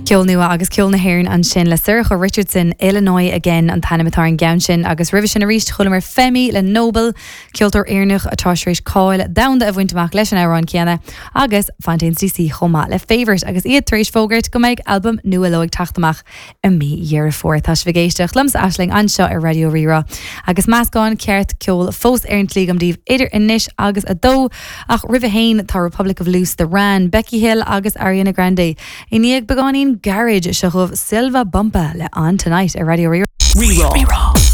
Ceol nua agus ceol na hÉireann ansin le Sorcha Richardson, Illinois Again an t-ainm atá ar an gceann sin agus roimhe sin arís chualamar Femi le Noble, ceoltóir Éireannach atá tar éis cáil domhanda a bhaint amach leis an amhrán céanna, agus Fontaines DC chomh maith le Favourite agus iad tar éis fógairt go mbeidh albam nua leo ag teacht amach i mí Dheireadh Fómhair. Tá sibh ag éisteacht liomsa Aisling anseo ar Raidió Rí-Rá agus meascán ceart ceoil fós ar an tslí agam daoibh idir anois agus a dó ach roimh a haon tá Republic of Loose, The Rann, Becky Hill agus Ariana Grande. I ndiaidh beagáinín gairid seo chugaibh Silva Bumpa le On Tonight ar Raidió Rí-Rá. Rí-Rá.